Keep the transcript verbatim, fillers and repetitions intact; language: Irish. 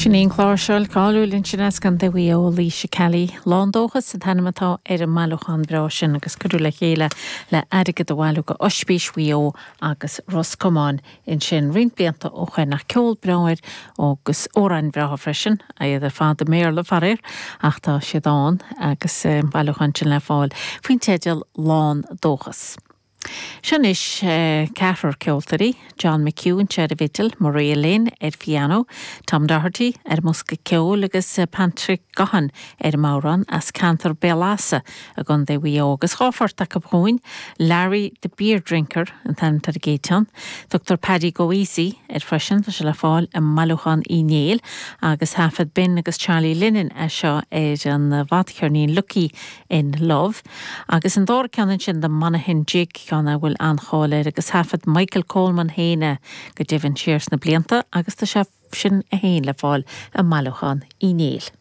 Sin í an chláirseoir cáiliúil ansin as Contae Mhaigh Eo Laoise Kelly Lán Dóchas an t-ainm atá ar an mbailiúchán breá sin agus cuireadh le chéile le airgead a bhailiú go Ospís Mhaigh Eo agus Ros Comáin ansin roinnt blianta ó shin ach ceol breá air agus amhráin bhreátha freisin iad ar fad i mBéarla faraor ach tá siad ann agus bailiúchán sin le fáil faoin teideal Lán Dóchas. Seo anois ceathrar ceoltóirí, John McHugh anseo ar an bhfidil, Maria Lynn ar piano, Tom Doherty ar bhosca ceoil agus Patrick Gaughan ar an mbodhrán as ceantar Béal Easa i gContae Mhaigh Eo agus dhá phort acu chugainn, Larry the Beer Drinker an t-ainm ar an gcéad cheann, Tugtar Paddy Go Easy air freisin tá sé le fáil i mbailiúchán Uí Néill agus thaifead Ben agus Charlie Lennon é seo ar an bhfadcheirnín Lucky in Love. Agus an dara ceann ansin the Monaghan Jig ceann a bhfuil an-cháil air agus thaifead Michael Coleman féin é go deimhin siar sna blianta agus tá sé sin féin le fáil i mbailiúchán Uí Néill.